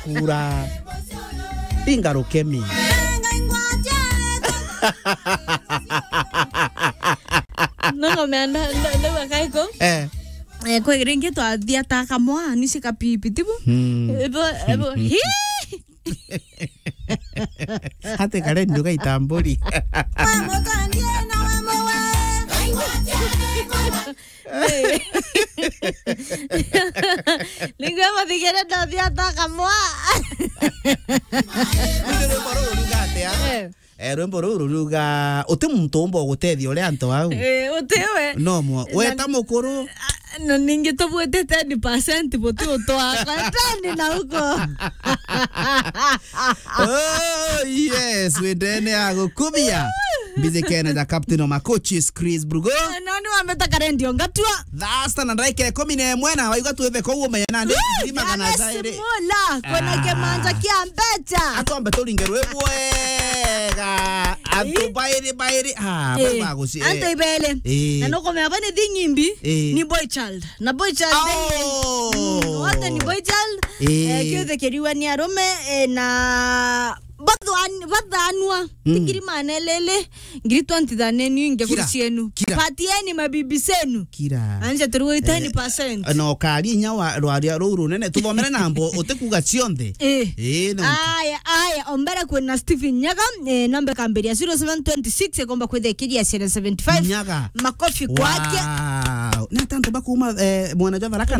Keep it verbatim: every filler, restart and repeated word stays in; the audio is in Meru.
Ura. Inga rukemi. Nongo meanda, ndo, ndo wakaiko. Eh. Eh, kwe ringi twathia ta kamwa, ni cika pipi, tibu? Hmm. Ebo, ebo, hi! Ate kare nduga itamburi. Ningwe mathigere ndathia ta kamwa. Ndio rwimbo ruru ruga atia? Eh. Eh, rwimbo ruru ruga, uti muntu umba gutethia uria antu au. Eh, uti we. No mwa, na weta mukuru. Ah, na ningi tubwite ten percent buti utwakwa. Ten na uko. Oh, yes, wendene ya gukubia. Mbijikene ja Captain o Makochis, Chris Brugo. No, ni wambeta karendio ngatua. Thasta na ndaika ikumi na imwe na waigua twithe kou umenye nandi ngiri magana jairi. Kwena kimanja kia mbecha. Atombe turinge rwi bwega. Antu bairi, bairi. Ah, bari baguci-, antu ibele. Eh. Na nukumenya bani thi nyimbi, eh, ni boy child. Na boy child, oh, mm, wote ni boy child. Eh. Eh, kiothe kiriwa ni arume, eh, na bathan-, bathanwa. Mm. Tikiri manelele, ngiri twenty thaneni inge kura cienu. Kira. Patieni mabibi cenu. Kira. Anje turuwe ten percent. Eh, no kari inya wa rwaria ruu runene. Tuthomere na mbo, utikuga cionthe. Eh. Eh, no. Aya, aya, ombere kwina Stephen Nyaga, eh, namba kamberia zero seven twenty six, ekomba kwithekiria seven seventy five. Nyaga. Makofi kwake. Wow. Na tanto bakuma, eh, mwana jwa Tharaka.